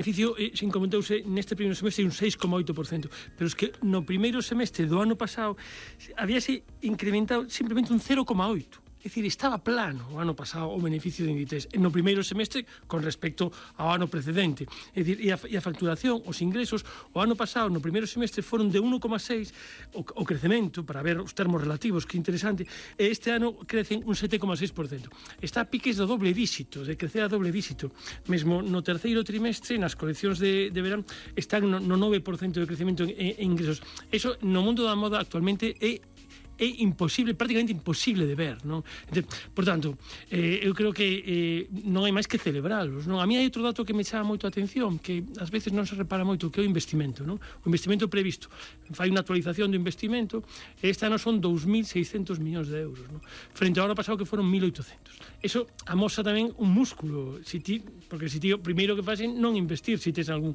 beneficio se incrementouse neste primeiro semestre un 6,8%, pero es que no primeiro semestre do ano pasado habíase incrementado simplemente un 0,8%. É dicir, estaba plano o ano pasado o beneficio de Inditex no primeiro semestre con respecto ao ano precedente. É dicir, e a facturación, os ingresos, o ano pasado no primeiro semestre foron de 1,6 o crecemento, para ver os termos relativos, que interesante, e este ano crecen un 7,6%. Está a piques do doble díxito, de crecer a doble díxito. Mesmo no terceiro trimestre, nas coleccións de verán, están no 9% de crecemento en ingresos. Eso no mundo da moda actualmente é imposible, prácticamente imposible de ver, non? Por tanto, eu creo que non hai máis que celebrarlos, non? A mí hai outro dato que me chama moito a atención, que ás veces non se repara moito, que é o investimento, non? O investimento previsto. Fai unha actualización do investimento, e este ano son 2.600 millóns de euros, non? Frente ao ano pasado que foron 1.800. Eso amosa tamén un músculo, porque se ti o primeiro que faz é non investir, se tes algún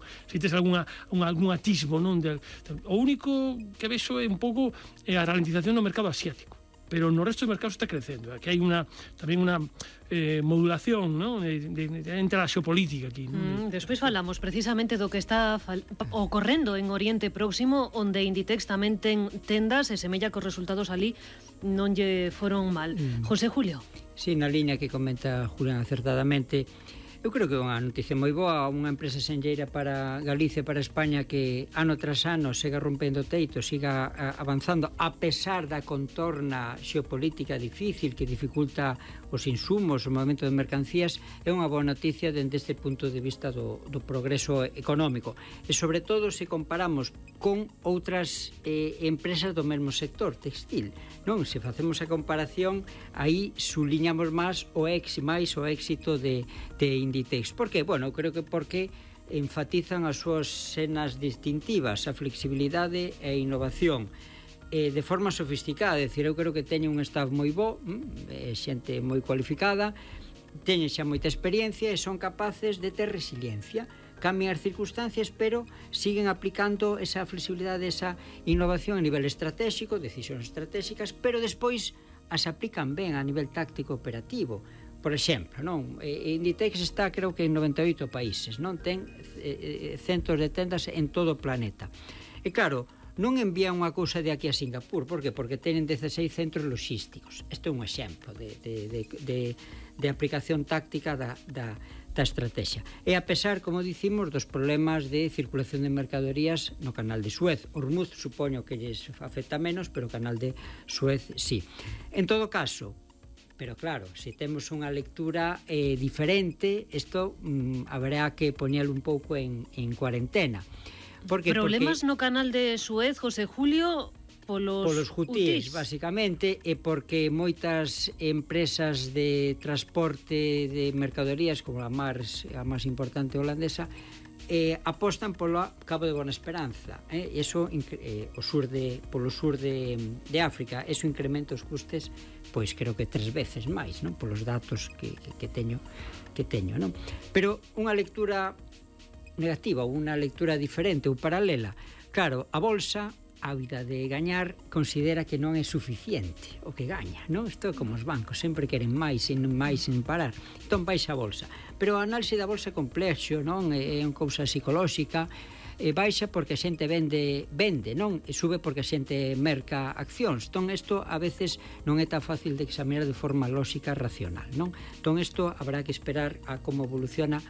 atisbo, non? O único que vexo é un pouco a ralentización no mercado asiático, pero no resto do mercado está crecendo. Aquí hai tamén unha modulación, ¿no? Entre a xeopolítica aquí, ¿no? Despois falamos precisamente do que está ocorrendo en Oriente Próximo, onde Inditex tamén ten tendas e semella que os resultados ali non lle foron mal. José Julio. Sí, na liña que comenta Julián acertadamente, eu creo que é unha noticia moi boa, unha empresa senlleira para Galicia e para España que ano tras ano siga rompendo teito, siga avanzando a pesar da contorna xeopolítica difícil que dificulta os insumos, o movimento de mercancías, é unha boa noticia dende este punto de vista do progreso económico. E sobre todo se comparamos con outras empresas do mesmo sector textil, non? Se facemos a comparación, aí suliñamos máis o éxito de Inditex. Por que? Bueno, creo que porque enfatizan as súas senas distintivas, a flexibilidade e a innovación de forma sofisticada. É dicir, eu creo que teñen un staff moi bo, xente moi cualificada, teñen xa moita experiencia e son capaces de ter resiliencia. Cambian as circunstancias, pero siguen aplicando esa flexibilidade, esa innovación a nivel estratégico, decisións estratégicas, pero despois as aplican ben a nivel táctico operativo. Por exemplo, non? Inditex está, creo que en 98 países, non? Ten centos de tendas en todo o planeta. E claro, non envían unha cousa de aquí a Singapur. Por que? Porque tenen 16 centros logísticos. Este é un exemplo de aplicación táctica da estrategia. E a pesar, como dicimos, dos problemas de circulación de mercadorías no canal de Suez. Hormuz supoño que lles afecta menos, pero o canal de Suez sí. En todo caso, pero claro, se temos unha lectura diferente, isto haberá que poñelo un pouco en cuarentena. Problemas no canal de Suez, José Julio, polos hutíes, basicamente, e porque moitas empresas de transporte de mercadorías, como a máis importante holandesa, apostan polo Cabo de Buena Esperanza, eso polo sur de África. Eso incrementa os custes, pois creo que 3 veces máis, non? Polos datos que teño, non? Pero unha lectura negativa ou unha lectura diferente ou paralela, claro, a bolsa, ávida de gañar, considera que non é suficiente o que gaña, non? Isto é como os bancos, sempre queren máis e máis sin parar. Entón baixa a bolsa, pero a análise da bolsa é complexo, non? É unha cousa psicolóxica. Baixa porque a xente vende, non? E sube porque a xente merca accións. Entón isto a veces non é tan fácil de examinar de forma lóxica e racional, non? Entón isto habrá que esperar a como evoluciona.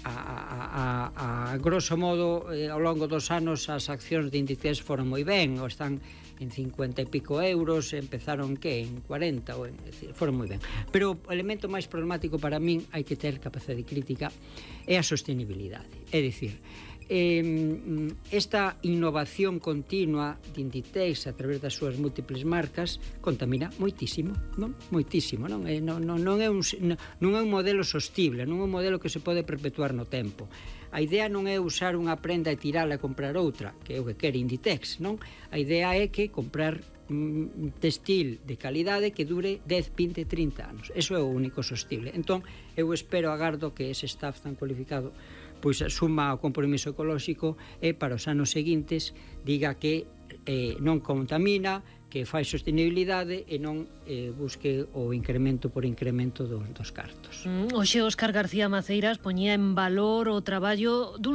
A grosso modo, ao longo dos anos as accións de Inditex foron moi ben, ou están en 50 e pico euros, empezaron en 40, foron moi ben. Pero o elemento máis problemático para min, hai que ter capacidade crítica, é a sostenibilidade. É dicir, esta innovación continua de Inditex a través das súas múltiples marcas contamina moitísimo, non? Moitísimo, non? Non é un modelo sostible, non é un modelo que se pode perpetuar no tempo. A idea non é usar unha prenda e tirala e comprar outra, que é o que quere Inditex, non? A idea é que comprar textil de calidade que dure 10, 20, 30 anos. Eso é o único sostible. Entón, eu espero, agardo que ese staff tan cualificado pois suma o compromiso ecolóxico e para os anos seguintes diga que non contamina, que fai sostenibilidade e non busque o incremento por incremento dos cartos. Hoxe Óscar García Maceiras poñía en valor o traballo dun